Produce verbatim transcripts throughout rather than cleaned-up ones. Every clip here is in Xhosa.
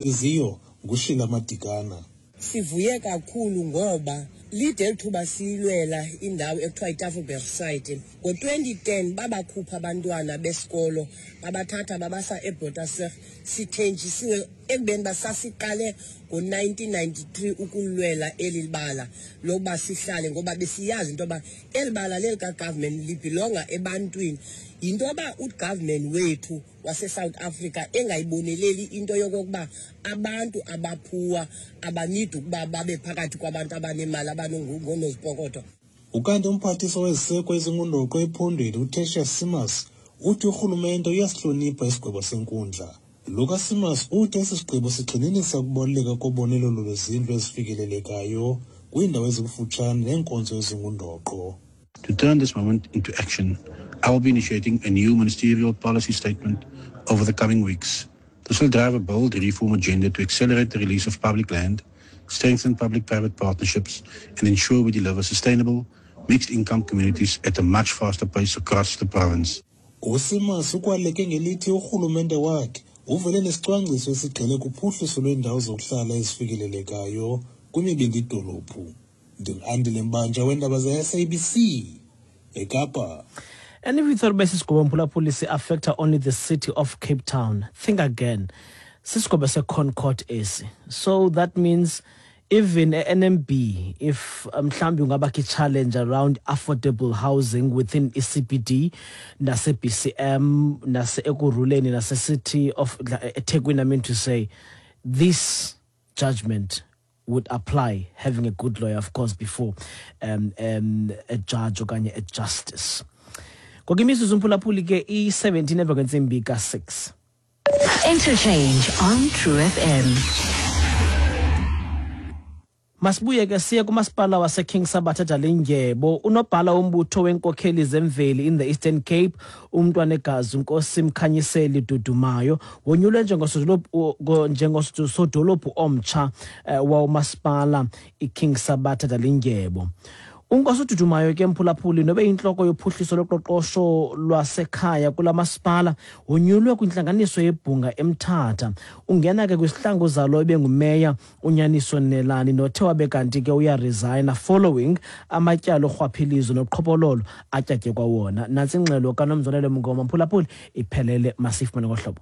Ziyo nguShila Madikana. Sivuye kakhulu ngoba lide elithuba siyilwela indawo ekuthiwa iTafelberg site. Ngo-twenty ten babakhupha abantwana besikolo, babathatha babasa eBotasig. Sithenjisiwe ekubeni uba sasiqale ngo-nineteen ninety-three ukulwela eli bala lokuba sihlale, ngoba besiyazi into yoba eli bala lelika-government libhilonga ebantwini. Yinto yoba ugovernment wethu waseSouth Africa engayiboneleli into yokokuba abantu abaphuwa abanidi ukuba babe phakathi kwabantu abanemali abanongoonozipokotho. Ukanti umphathiswa weziseko ezingundoqo ephondweni uTertuis Simmers uthi urhulumente uyasihlonipha isigwebo senkundla. Lo kaSimmers uthi esi sigqibo sigxininisa ukubaluleka kobonelelo lwezindlu ezifikelelekayo kwiindawo ezikufutshane neenkonzo ezingundoqo. To turn this moment into action, I will be initiating a new ministerial policy statement over the coming weeks. This will drive a bold reform agenda to accelerate the release of public land, strengthen public-private partnerships, and ensure we deliver sustainable, mixed-income communities at a much faster pace across the province. USimmers ukwaleke ngelithi urhulumente wakhe uvele nesicwangciso esigxile kuphuhliso lweendawo zokuhlala ezifikelelekayo kwimibindi dolophu. Ndingu-Andile Mbanja weendaba ze-S A B C eKapa. And if you thought besisigqibo mphulaphuli si-affecta only the city of Cape Town, think again. Sisigqibo se-ConCourt esi. So that means even N M B, if mhlawumbi ungabakho i-challenge around affordable housing within I C B D, nase B C M, nase Ekurhuleni, nase City of eThekwini, I mean to say, this judgment would apply, having a good lawyer, of course, before, um, um, a judge okanye a justice. Ngoku imizuzu mphulaphuli ke i-seventeen emva kwentsimbi ka-six. Interchange on True F M. Masibuye ke siye kumasipala waseKing Sabatha Dalindyebo. Unobhala wombutho wenkokheli zemveli in the Eastern Cape, umntwanegazi uNkosi Mkhanyiseli Dudumayo, wonyulwe njengosodolophu, njengosodolophu omtsha, eh, wawumasipala iKing Sabatha Dalindyebo. UNkosi Dudumayo ke mphulaphuli nobe intloko yophuhliso loqoqosho lwasekhaya kula masipala, wonyulwe kwintlanganiso yebhunga eMthatha. Ungena ke kwisihlangu zalo ebengumeya uNyaniso Nelani nothe wabe kanti ke uyaresigna following amatyala orhwaphilizo noqhophololo atyatyekwa wona. Nantsi ingxelo kaNomzonelo Mngoma mphulaphuli iphelele masifumane ngohlobo.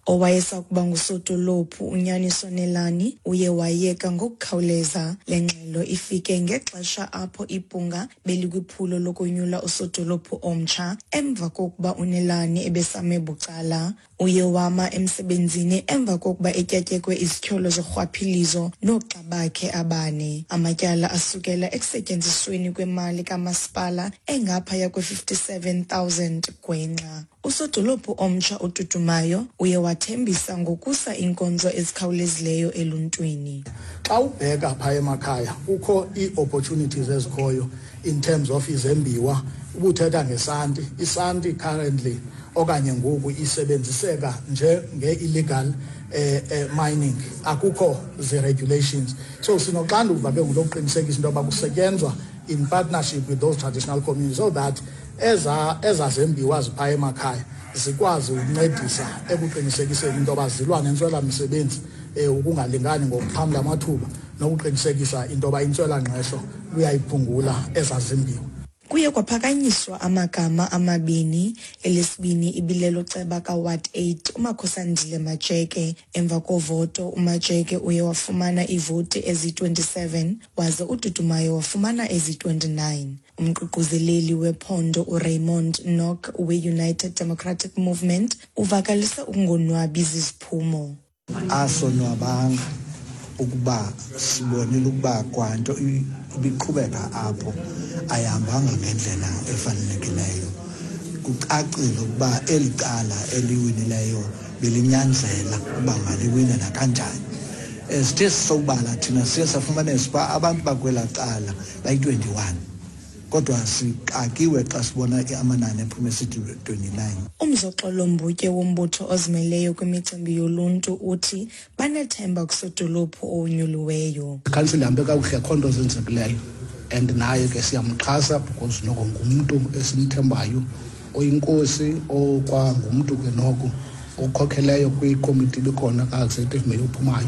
Owayesakuba ngusodolophu uNyaniso Nelani uye wayeka ngokukhawuleza. Le ngxelo ifike ngexesha apho ibhunga belikwiphulo lokonyula usodolophu omtsha emva kokuba uNelani ebesame bucala. Uye wama emsebenzini emva kokuba etyatyekwe izityholo zorhwaphilizo noogxa bakhe abane. Amatyala asukela ekusetyenzisweni kwemali kamasipala engaphaya kwe-fifty-seven thousand gwenxa. Usodolophu omtsha uDudumayo uye wathembisa ngokusa iinkonzo ezikhawulezileyo eluntwini. Xa ubheka phaya emakhaya kukho ii-opportunities ezikhoyo in terms of izembiwa. Ubuthetha ngesanti, isanti currently okanye ngoku isebenziseka njenge-illegal, eh, eh, mining, akukho zi-regulations. So sinoxanduva ke ngokuqinisekisa into yoba kusetyenzwa in partnership with those traditional communities so that eza, ezazembiwa ziphaya emakhaya zikwazi ukuncedisa ekuqinisekiseni into yoba zilwa nentswela-misebenzi, eh, ukungalingani ngokuxhamla amathuba nokuqinisekisa into yoba intswelangqesho luyayiphungula ezazimbiwa. Kuye kwaphakanyiswa amagama amabini, elesibini ibilelo ceba kaWard eight uMakhosandile Majeke. Emva kovoto uMajeke uye wafumana iivoti ezi-twenty-seven waze uDudumayo wafumana ezi-twenty-nine. Umququzeleli wephondo uRaymond Nock we-United Democratic Movement uvakalise ukungonwabi ziziphumo. Asonwabanga ukuba sibonile ukuba kwanto ibiqhubeka apho ayihambanga ngendlela efanelekileyo. Kucacile ukuba eli cala eliwinileyo belinyanzela ukuba maliwine nakanjani. Eh, sithe sisobala thina siye safumanisa ukuba abantu bakwelaa cala bayi-twenty-one, kodwa sixakiwe xa sibona amanani ephume esithi twenty-nine. Umzoxolo Mbutye wombutho ozimeleyo kwimicimbi yoluntu uthi banethemba kusodolophu owonyuliweyo. Ikhansila ihambe kakuhle, akho nto zenzekileyo, and naye ke siyamxhasa because noko ngumntu esimthembayo, oyinkosi okwangumntu ke noko Okhokheleyo kwikomiti ibikhona ka-executive mayor ophumayo.